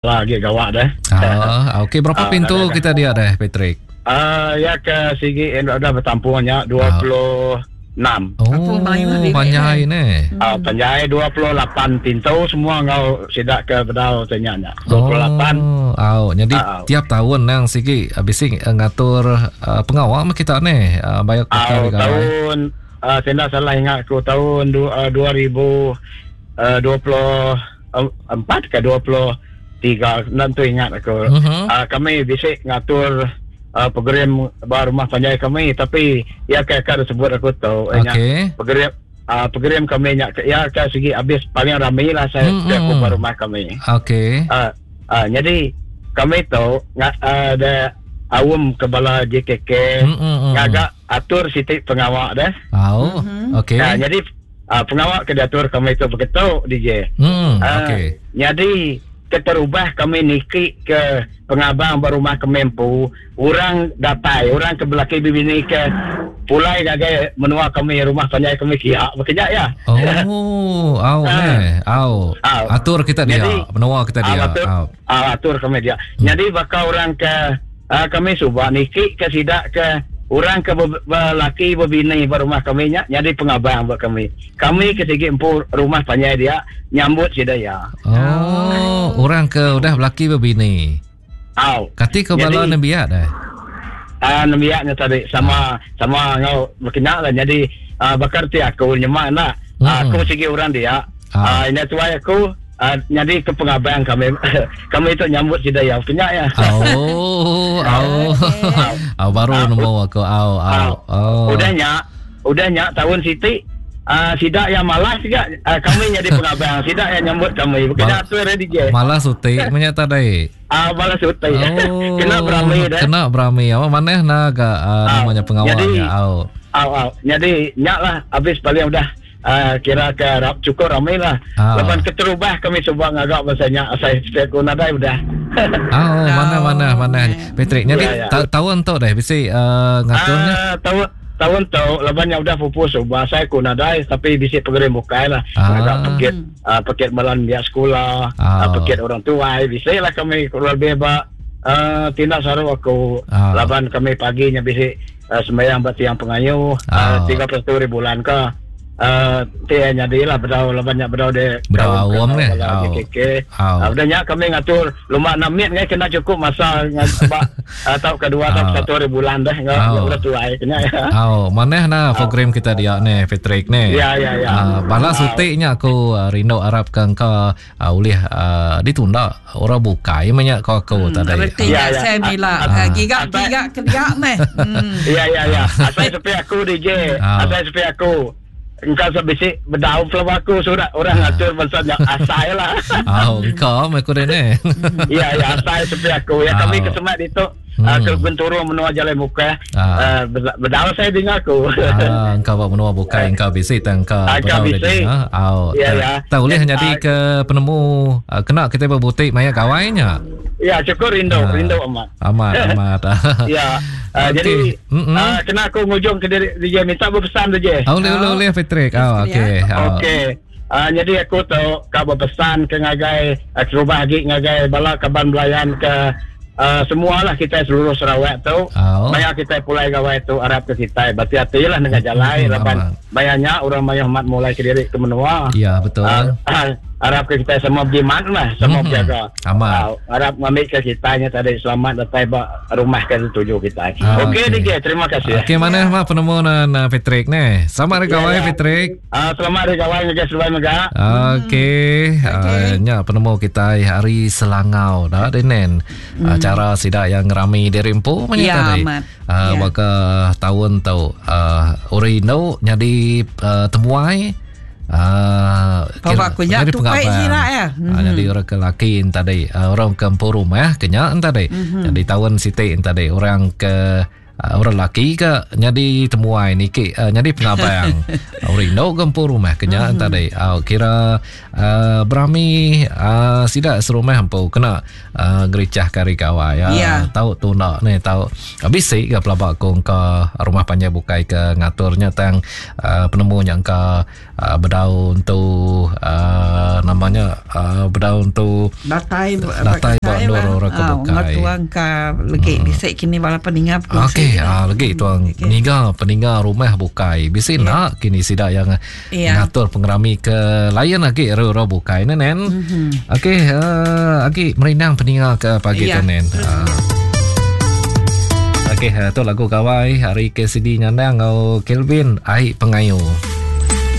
Lah agi gawa deh. Ah, okey berapa ah, pintu dah, kita dia deh Patrick? Ah, ya ke sigi eh, udah bertampung nya 26. Oh, panjai ni. Ah, panjai 28 pintu semua ngau sidak ke bedau tanya nya. 28. Oh, au. Jadi ah, tiap tahun nang sigi ah, bisi eh, ngatur uh, pengawa mah kita ni uh, bayar ke tahun uh, saya tak salah ingat aku tahun du, uh, 2024 ke 23 enda tentu ingat aku. Uh-huh. Uh, kami bisi ngatur uh, program ba rumah panjai kami tapi ya ke ka disebut aku tu okay. program uh, program kami nya ya ke sigi habis paling rami lah saya mm-hmm. aku ba rumah kami. Okey. Uh, uh, jadi kami tu uh, ada awam ke bala JKK mm-hmm. ngaga atur siti pengawa deh. Oh, mm-hmm. okey. Uh, jadi uh, pengawa ke diatur kami tu begitu DJ. Hmm, uh, okey. Jadi keterubah kami niki ke pengabang ba rumah kami empu, orang datai, orang ke belaki bibini ke pulai ngagai menua kami rumah panjai kami kia bekeja ya. Oh, au uh, au. Atur kita dia, jadi, menua kita dia. Atur, au. atur kami dia. Jadi bakal orang ke uh, kami suba niki ke sida ke orang ke belaki bebini ba rumah kami nya nyadi pengabang ba kami. Kami ke sigi empu rumah panjai dia nyambut sida iya. Oh, orang ke udah belaki bebini. Au. Kati ke bala nembiak dah. Ah uh, nembiak nya tadi sama uh. sama ngau bekena lah jadi uh, bakar ti aku nyemak nak. Hmm. Uh, aku sigi orang dia. Uh. Uh, ini tuai aku uh, nyadi ke pengabang kami kami itu nyambut sida ya kenya ya. Oh, oh. Oh, baru nemu aku. Oh, oh. Oh. Udah nya, udah nya tahun siti uh, sida yang malas juga uh, kami nyadi pengabang sida yang nyambut kami bukan atur ready je. Malas uti menya tadi. Ah uh, malas uti. Oh. Kena berami dah. Kena berami. Apa maneh na ga uh, namanya pengawalnya. Oh. Oh, oh. Jadi nyak lah habis paling udah Uh, kira ke rap cukup ramai lah. Ah. Lepas keterubah kami cuba ngagak bahasanya saya aku nadai udah. oh, mana mana mana. Patrick, jadi ya, ya. Ta tahun tu deh bisi uh, ngaturnya. Uh, tahun tahun tu laban yang udah pupus ubah saya ku nadai tapi bisi program bukai lah. Ah. Ngagak pekit uh, pekit malam dia sekolah, ah. uh, pekit orang tua, bisi lah kami kurang lebih ba uh, tindak saru aku. Ah. Laban kami paginya bisi uh, sembahyang ba tiang pengayu uh, 31 hari bulan ke uh, ti nyadi lah bedau laban nya bedau de bedau awam ne JKK uh, udah nya kami ngatur luma namit ngai kena cukup masa ba atau kedua atau satu hari bulan dah ngau udah tuai kena ya au maneh na program kita dia ne Patrick ne ya ya ya uh, bala sutik nya aku uh, rindu arap ke engkau uh, ulih uh, ditunda orang bukai meh nya ko aku hmm, tadi. Reti ya, ya. saya mila uh, giga giga ke dia meh. Hmm. Ya ya ya. Asal sepi aku DJ, asal sepi aku. Engkau sebisi bedau pelaba aku surat orang ngatur pasal nya asai lah. Oh, engkau meh aku dene. Ya ya asai sepi aku. Ya kami kesemat itu. Hmm. Uh, ke Genturung menua Jalai Mukah. Ah. Uh, bedau saya dengar aku. Ah, engkau buat menua bukai engkau bisi tang engkau. Ah, engkau bisi. Ah, ya ya. Tak boleh jadi ke penemu uh, kena kita berbutik maya kawainya. Ya, cukup rindu, ah. rindu amat. Amat, amat. ya. Uh, okay. Jadi mm -hmm. uh, kena aku ngujung ke diri DJ minta berpesan DJ. Oh, boleh, boleh, boleh Patrick. Oh, okey. Oh. Okey. Uh, jadi aku tu kau berpesan ke ngagai uh, kerubah agi ngagai bala kaban belayan ke Uh, semualah kita seluruh Sarawak tu oh. maya kita pulai gawai tu arap ke kita berhati-hati lah dengan jalai hmm, laban bayarnya orang maya hormat mulai ke diri ke menua ya betul uh, uh, arap ke kita semua berjimat lah semua hmm. berjaga aman uh, arap ngambil ke kita nya tadi selamat datang ba rumah ke tuju kita ah, okey okay. DJ terima kasih okey mana ya. penemu na Patrick ni selamat hari ya, gawai ya. Patrick Uh, selamat hari gawai ngagai seduai mega. Okey, hmm. uh, nya penemu kita hari Selangau dah denen. Hmm. Uh, cara sida yang ngerami diri empu menya ya, tadi. Amat. Uh, ya. Baka tahun tu uh, ori indu nyadi uh, temuai uh, kira, aku nya tupai sira ya. Hmm. Uh, jadi orang ke laki tadi, uh, orang ke empu rumah ke nya tadi. Hmm. Jadi tahun siti tadi orang ke. Orang laki ke nyadi temuai niki nyadi pengabang. Orang indu ke empu rumah ke nya tadi. Kira berami sida serumah empu kena ngericah ke hari gawai. Tau tunda ni tau bisi ke pelaba ku engka rumah panjai bukai ke ngatur nya tang penemu nya engka bedau entu nama nya bedau entu datai datai ba endur orang ke bukai. Tuang ka legi bisi kini bala peninga bekongsi. Okey legi tuang niga peninga rumah bukai bisi enda kini sida yang ngatur pengerami ke lain agi ari orang bukai ne nen. Okey agi merindang peninga ke pagi tu nen. Okey tu lagu gawai ari KCD Nyandang enggau Kelvin Ai Pengayu.